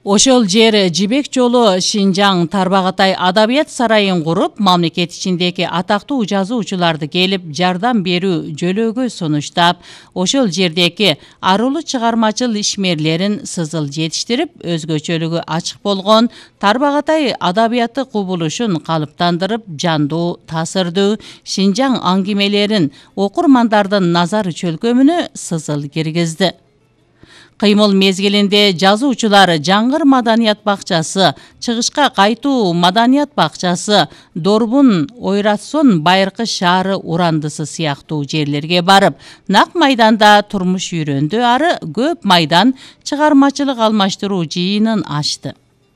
Ошол жер Жибек жолу Шинжаң Тарбағатай адабият сарайын куруп, мамлекет ичиндеги атактуу жазуучуларды келип жардам берүү жөлөөгө сунуштап, ошол жердеги арулуу чыгармачыл ишмерлерин сызыл жетиштирип, өзгөчөлүгү ачык болгон Тарбағатай адабияты кубулушун калыптандырып, жандуу, таасирдүү Шинжаң аңгемелерин окурмандардын назары чөлкөмүнө сызыл киргизди. Кыймыл мезгилинде жазуучулар Жаңгыр маданият бакчасы, Чыгышка кайтуу маданият бакчасы, Дорбун, Ойратсон байыркы шаары урандысы сыяктуу жерлерге барып, нак майданда турмуш үйрөндү, ары көп майдан чыгармачылык алмаштыруу жыйынын ачты.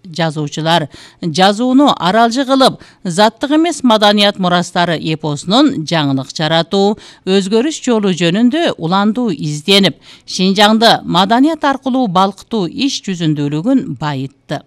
Жазуучулар жазууну аралжы кылып, заттык эмес маданият мурастары эпосунун жаңылык жаратуу, өзгөрүш жолу жөнүндө уландуу изденип, Шинжаңды маданият аркылуу балкытуу иш жүзүндүүлүгүн байытты.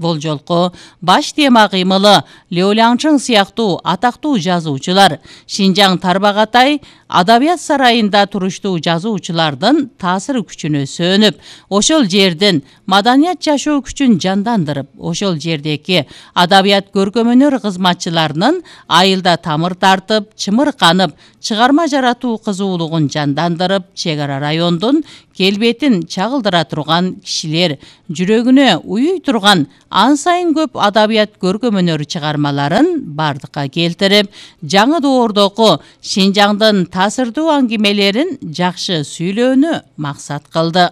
Бул жолку баш тема кыймылы Лео Лянчың сыяктуу атактуу жазуучулар Шинжаң Тарбағатай адабият сарайында туруштуу жазуучулардын таасир күчүнө сөнүп, ошол жердин маданият жашоо күчүн жандандырып, ошол жердеги адабият көркөмөнөр кызматчыларынын айылда тамыр тартып, чымырканып, чыгарма жаратуу кызуулугун жандандырып, чек ара райондун келбетин чагылдыра турган кишилер жүрөгүнө уюй турган ан сайын көп адабият көркөмөнөр чыгармаларын бардыкка келтирип, жаңы доордогу Шинжаңдын таасирдуу аңгемелерин жакшы сүйлөөнү максат кылды.